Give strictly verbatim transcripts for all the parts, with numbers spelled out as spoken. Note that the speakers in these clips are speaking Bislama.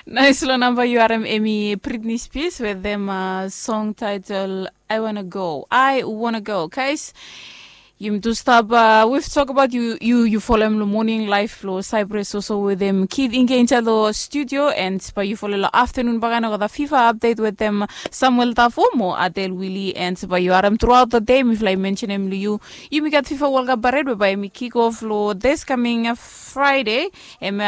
Nais long namba yu harim em i Britney Spears wetem song title I wanna go, I wanna go, guys. Yumi tu stap, we've talk about yu yu yu folem long morning life long Cyprus also wetem Kid Inge inside long studio and bae yu folem long afternoon baka na gota fifa update wetem Samuel Tafo mo Adel Willie and bae yu harim throughout the day mifala i mentionem long yu. Yumi gat fifa World Cup parade we bae yumi kick off long this coming Friday. Em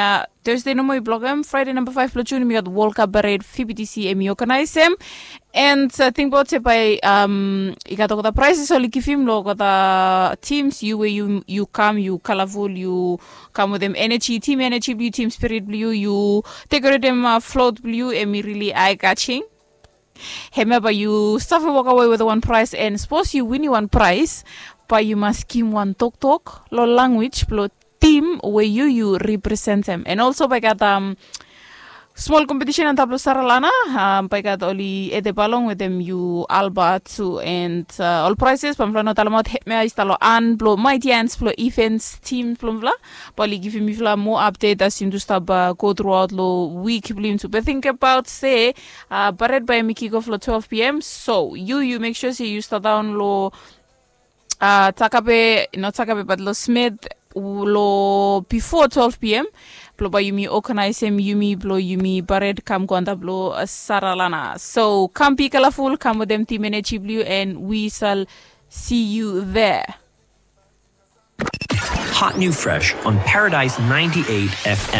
Thursday nomo i blogem Friday namba five blong June mi gat World Cup parade, V B T C em i organizem. And tingbaot se bae i gat olgeta prizes oli givim long olgeta teams yu we yu kam yu colorful yu kam wetem energy, team energy blong yu, team spirit blong yu, yu decoratem float blong yu em i really eye catching. Hemia bae yu save wokawe wetem wan prize and sapos yu winim wan prize bae yu mas givim wan toktok long language blong tim we yu yu representem and also bae i gat smol kompetisen antap long Saralana. Bae i gat oli Ede Balong wetem yu Alba tu and ol prizes bae mifala no talemaot hemia i stap long an blong Mighty Ants blong events tim blong mifala. Bae oli givim mifala moa update as yumi tu stap go truaot long wik blong yumi tu be tingbaot se baret bae yumi kick off long twelve pm so yu yu mek sua se yu stap daon long Takabe, not Takabe bat long Smith long bifo twelve pm blong bae yumi organizem yumi blong yumi baret kam go antap long Saralana. So kam bi kalaful, kam wetem team energy blong yu and we sal see you there. Hot new fresh on Paradise ninety-eight F M.